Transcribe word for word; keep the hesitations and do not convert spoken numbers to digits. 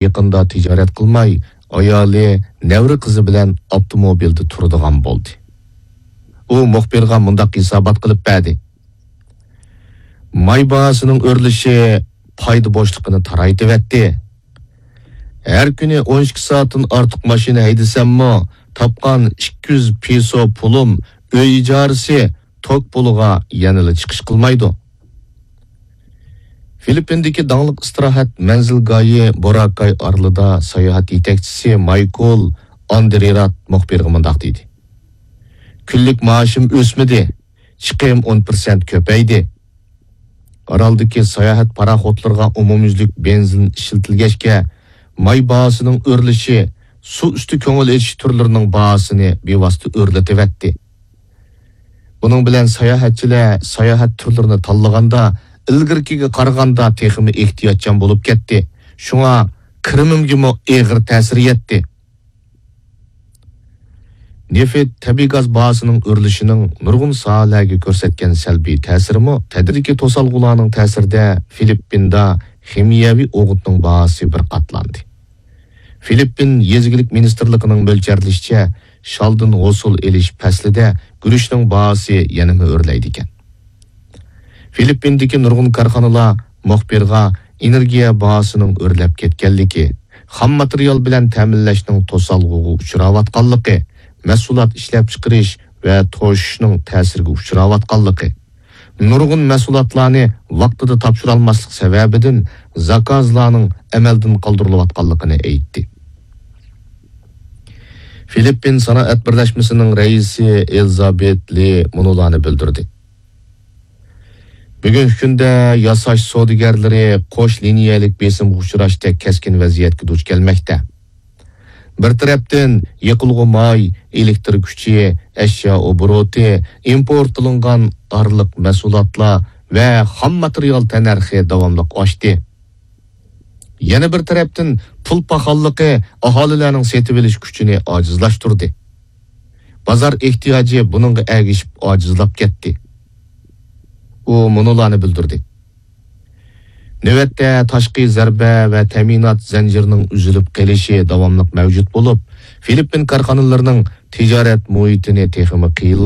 يېقىندا تىجارەت قىلماي، ئايالى، نەۋرە قىزى بىلەن ئاپتوموبىلدا تۇرىدىغان بولدى. ئۇ مۇخبىرغا مۇنداق ھېسابات قىلىپ بەردى: ماي باھاسىنىڭ ئۆرلىشى پايدا بوشلۇقىنى تارايتىۋەتتى. ھەر كۈنى ئون ئىككى سائەتتىن ئارتۇق ماشىنا ھەيدىسەممۇ، تاپقان ئىككى يۈز پېسو پۇلۇم ئۆي ئىجارىسى، توك پۇلىغا يەنىلا چىقىش قىلمايدۇ. فىلىپپىندىكى داڭلىق ئىستىراھەت مەنزىلگاھى بوراكاي ئارىلىدا ساياھەت يېتەكچىسى مايكل ئاندرېرات مۇخبىرغا مۇنداق دېدى: كۈنلۈك مائاشىم ئۆسمىدى، چىقىم ئون پىرسەنت كۆپەيدى. ئارالدىكى ساياھەت پاراخوتلىرىغا ئومۇميۈزلۈك بېنزىن ئىشلىتىلگەچكە، ماي باھاسىنىڭ ئۆرلىشى سۇ ئۈستى كۆڭۈل ئېچىش تۈرلىرىنىڭ باھاسىنى بىۋاسىتە ئۆرلىتىۋەتتى. بۇنىڭ بىلەن ساياھەتچىلەر ساياھەت تۈرلىرىنى تاللىغاندا، ئىلگىرىكىگە قارىغاندا تېخىمۇ ئېھتىياتچان بولۇپ كەتتى. شۇڭا كىرىمىمگىمۇ ئېغىر تەسىر يەتتى. نېفىت، تەبىئىي گاز باھاسىنىڭ ئۆرلىشىنىڭ نۇرغۇن ساھەلەرگە كۆرسەتكەن سەلبىي تەسىرىمۇ تەدرىجىي توسالغۇلارنىڭ تەسىرىدە فىلىپپىندا خىمىيەۋى ئوغۇتنىڭ باھاسى بىر قاتلاندى. فىلىپپىن يېزا ئىگىلىك مىنىستىرلىقىنىڭ مۆلچەرلىشىچە، شالدىن ھوسۇل ئېلىش پەسلىدە گۈرۈچنىڭ باھاسى يەنىمۇ ئۆرلەيدىكەن. فىلىپپىندىكى نۇرغۇن كارخانىلار مۇخبىرغا ئېنېرگىيە باھاسىنىڭ ئۆرلەپ كەتكەنلىكى، خام ماتېرىيال بىلەن تەمىنلەشنىڭ توسالغۇغا ئۇچراۋاتقانلىقى، مەھسۇلات ئىشلەپچىقىرىش ۋە توشۇشنىڭ تەسىرگە ئۇچراۋاتقانلىقى، نۇرغۇن مەھسۇلاتلارنى ۋاقتىدا تاپشۇرالماسلىق سەۋەبىدىن زاكازلارنىڭ ئەمەلدىن قالدۇرۇلۇۋاتقانلىقىنى ئېيتتى. فىلىپپىن سانائەت بىرلەشمىسىنىڭ رەئىسى ئېلىزابېت لى مۇنۇلارنى بىلدۈردى: بۈگۈنكى كۈندە ياساش سودىگەرلىرى قوش لىنىيەلىك بېسىمغا ئۇچراشتەك كەسكىن ۋەزىيەتكە دۇچ كەلمەكتە. بىر تەرەپتىن، يېقىلغۇ ماي، ئېلېكتىر كۈچى، ئەشيا ئوبوروتى، ئىمپورت قىلىنغان ئارىلىق مەھسۇلاتلار ۋە خام ماتېرىيال تەننەرخى داۋاملىق ئاشتى. يەنە بىر تەرەپتىن، پۇل پاخاللىقى ئاھالىلەرنىڭ سېتىۋېلىش كۈچىنى ئاجىزلاشتۇردى. بازار ئېھتىياجى بۇنىڭغا ئەگىشىپ ئاجىزلاپ كەتتى. ئۇ مۇنۇلارنى بىلدۈردى: نۆۋەتتە تاشقى زەربە ۋە تەمىنات زەنجىرىنىڭ ئۈزۈلۈپ قېلىشى داۋاملىق مەۋجۇت بولۇپ، فىلىپپىن كارخانىلىرىنىڭ تىجارەت مۇھىتىنى تېخىمۇ قىيىنلاشتۇرۇپ،